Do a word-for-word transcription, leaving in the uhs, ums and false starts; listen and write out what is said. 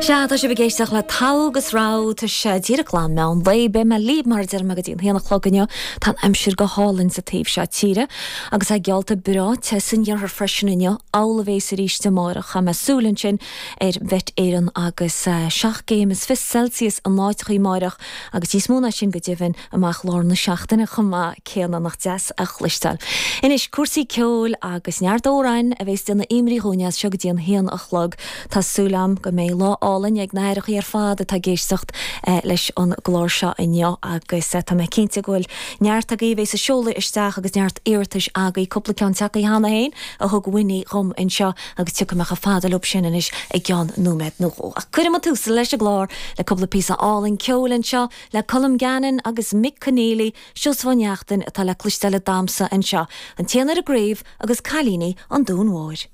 Sea, tá sibh ag éisteacht le Togha agus Rogha, tá sé díreach le meán lae, beidh mé libh mar a deirim go dtí an haon a chlog inniu. Tá an aimsir go hálainn sa taobh seo tíre agus é geallta breá te san iarthar freisin inniu, amhlaidh a bheas arís amárach. Chaith mé súil ansin ar Mhet Éireann agus seacht gcéim is fiche Celsius in áiteachaí amárach agus níos mó ná sin go deimhin amach lár na seachtaine chomh maith céanna nach deas a chloisteáil. Anois cúrsaí ceoil agus neart amhráin a bheas ag déanamh imní dhúinn as seo go dtí an haon a chlog. Tá súil agam go mbeidh lá álainn ag na haithreachaí ar fad atá ag éisteacht leis an gclár seo inniu agus tá mé cinnte go bhfuil neart agaibh ag seoladh isteach agus neart iarratais agaibh cúpla ceann tagtha cheana féin a thug Winnie dhom anseo agus tiocfaidh mé chomh fada leo sin anois i gceann nóiméad nó dhó. Ach cuirfidh muid tús leis an gclár le cúpla píosa álainn ceoil anseo le Colm Gannon agus Mick Conneely, Seosamh Ó Neachtain atá le cloisteáil damsa anseo, an t-éan ar an gcraobh agus Cailíní an Dúin Mhóir.